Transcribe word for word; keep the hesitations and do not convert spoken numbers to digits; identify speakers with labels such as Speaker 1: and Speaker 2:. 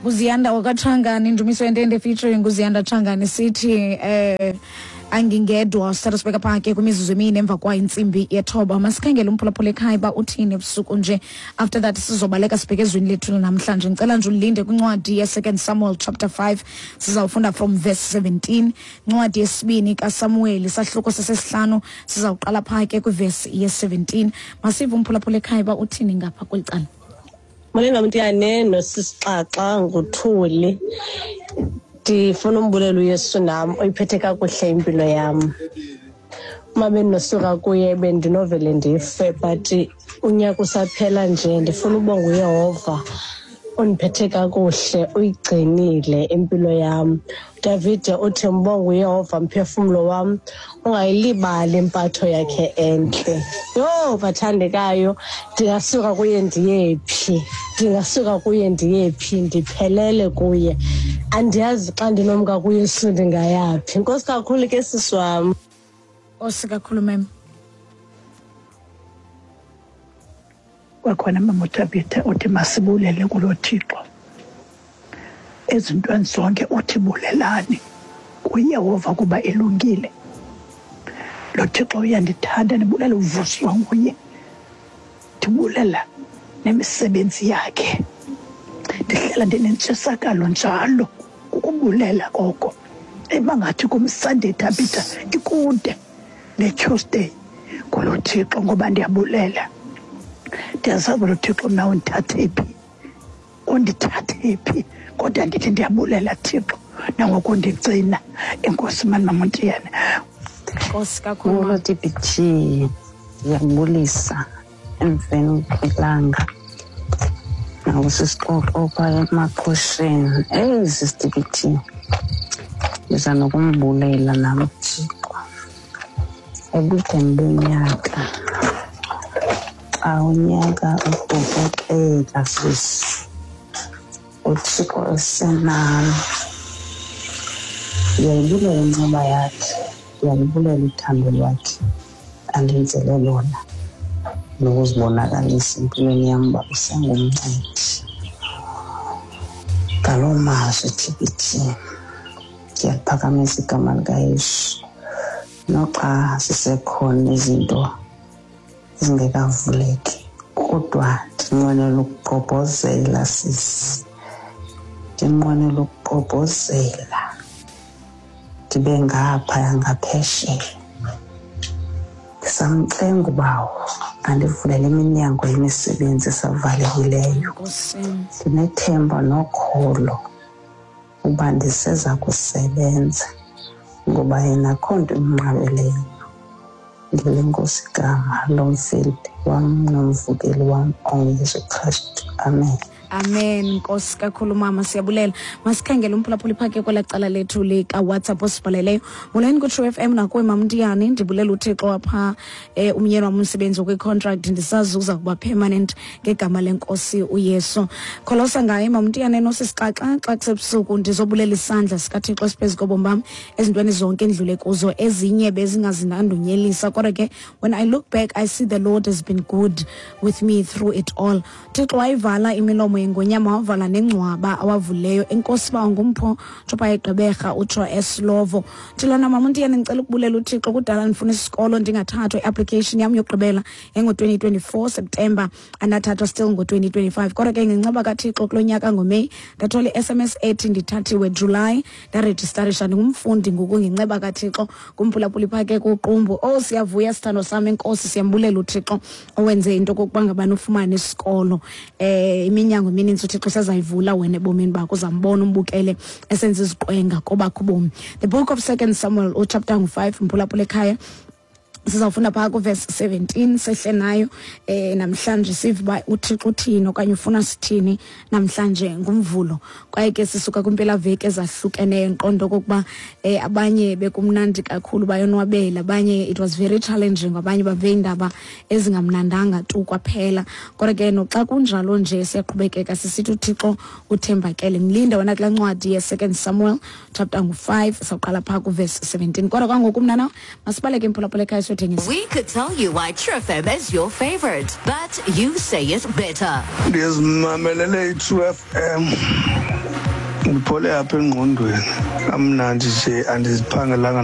Speaker 1: Nguziyanda wakaTshangani, Ndumiso Yentende featuring Nguziyanda Tshangani, sithi eh angingedwa. Sithatha sibeka pha ke kwimizuzu emine emva kwayo intsimbi yethoba. Masikhangele umphulaphula ekhaya uba uthini ebusuku nje. After that sizobaleka sibheke ezwini lethu namhlanje. Ngicela nje ulinde kwincwadi ye-Second Samuel chapter five, sizawufunda from verse seventeen. Incwadi yesibini kaSamueli sahluko sesesihlanu, sizawuqala pha ke kwivesi ye-seventeen. Masive umphulaphula ekhaya uba uthini ngapha kweli cala.
Speaker 2: Molweni Mamntiyane nosisixaxa nguThuli. Ndifuna umbulela uYesu nam oyiphethe kakuhle impilo yam. Uma bendinosuka kuye bendinovele ndife, but unyaka usaphela nje ndifuna ubonga uYehova ondiphethe kakuhle, uyigcinile impilo yam. Davide uthi mbonga uYehova mphefumlo wam, ungayilibali impatho yakhe entle. Yho, bathandekayo, ndingasuka kuye ndiyephi? Ndingasuka kuye ndiyephi? Ndiphelele kuye. Andiyazi xa ndinomka kuYesu ndingayaphi. Nkosi kakhulu ke sisi wam.
Speaker 1: Nkosi kakhulu mem.
Speaker 3: Kwakhona mama uThabitha uthi masibulele kulo Thixo. Ezintweni zonke uthi bulelani kuYehova kuba elungile. Lo Thixo uyandithanda, ndibulela uvuswa nguye. Ndibulela nemisebenzi yakhe. Ndihlala ndinentshisakalo njalo kukubulela koko. Ebangathi kum Sunday Thabitha ikude ne-Tuesday kulo Thixo ngoba ndiyabulela. Ndiyazazi lo Thixo mna undithathe phi, undithathe phi, kodwa ndithi ndiyabulela Thixo nangoku ndigcina. Enkosi mani mama Ntiyane.
Speaker 1: Nkosi kakhulu.
Speaker 4: Molo T B T, ndiyabulisa emveni kwelanga nakusisixoxo phaa emaqhosheni. Eyi sisi T B T, ndiza nokumbulela nam Thixo ebudeni bonyaka. Xa unyaka ubhokoxeka sisi, uThixo esenam. Ndiyayibulela inceba yakhe, ndiyayibulela uthando lwakhe andenzele lona nokuzibonakalisa empilweni yam uba usengumncedi. Ngaloo mazwi T B T, ndiyaliphakamisa igama likaYesu. Noxa sisekhona izinto ezingekavuleki, kodwa ndinqwenela ukugqobhozela sisi, ndinqwenela ukugqobhozela ndibe ngaphaya ngaphesheya. Ndisamcenga ubawo andivulele iminyango yemisebenzi esavalekileyo. Ndinethemba nokholo uba ndiseza kusebenza ngoba yena akho nto imnqabeleyo. Ngelenkosi igama lomfeli wam nomvukeli wam onguYesu Kristu. Amen.
Speaker 1: Amen. Nkosi kakhulu mama, siyabulela. Masikhangele umphulaphuli phake kwela cala lethu lika WhatsApp osibhaleleyo. Molweni ku True F M nakuwe Mamntiyane, ndibulela uThixo apha eh, umyeni wam umsebenzi kwi-contract ndisazi uza kuba permanent ngegama lenkosi uYesu. Kholosa ngaye Mamntiyane nosisixaxa xa kusebusuku ndizobulela isandla sikaThixo esiphezu kobomi bam ezintweni zonke endlule kuzo, ezinye bezingazinandunyelisa, kodwa ke when I look back I see the Lord has been good with me through it all. Thixo wayivala imilomo yengonyama, wavala nengcwaba awavuleyo. Enkosi ba ngumpho tshopa egqeberha utsho eslovo. Thilana mama Ntiyane, ndicela ukubulela uThixo. Kudala ndifuna isikolo ndingathathwa, i-application yam yokugqibela engo-twenty twenty-four September, andathathwa still ngo-twenty twenty-five. Kodwa ke ngenceba kaThixo kulo nyaka ngoMeyi ndathola i-S M S ethi ndithathiwe July, ndarejistarisha ndingumfundi ngoku ngenceba kaThixo. Kumphulaphuli phake kuqumbu. Oh, siyavuya sithando sam, enkosi, siyambulela uThixo owenze into okokuba ngabani ufumane isikolo. Eh iminyango emininzi uThixo sezayivula wena ebomini bakho, uzambona umbukele esenza iziqwenga kobakho ubomi. The book of Second Samuel uchapter five, mphulaphula ekhaya. Sizawufunda phaa kuverse seventeen sehle nayo eh namhlanje sive uba uThixo uthini okanye ufuna sithini namhlanje ngumvulo. Kwaye ke sisuka kwimpelaveki ezahlukeneyo, ndiqonda okokuba eh abanye bekumnandi kakhulu bayonwabela, abanye it was very challenging, abanye bave iindaba ezingamnandanga tu kwaphela. Kodwa ke noxa kunjalo nje siyaqhubekeka sisithi uThixo uthembakele. Mlinde wena kulaa ncwadi ye-Second Samuel chapter ngu-five, sawuqala phaa kuverse seventeen. Kodwa kwangoku mnana masibaleke imphulaphula ekhaya Siyothengisa.
Speaker 5: We could tell you why True F M is your favorite, but you say it better.
Speaker 6: Ndizimamelele i-True F M, ndiphole apha engqondweni, kamnandi nje, andiziphangelanga.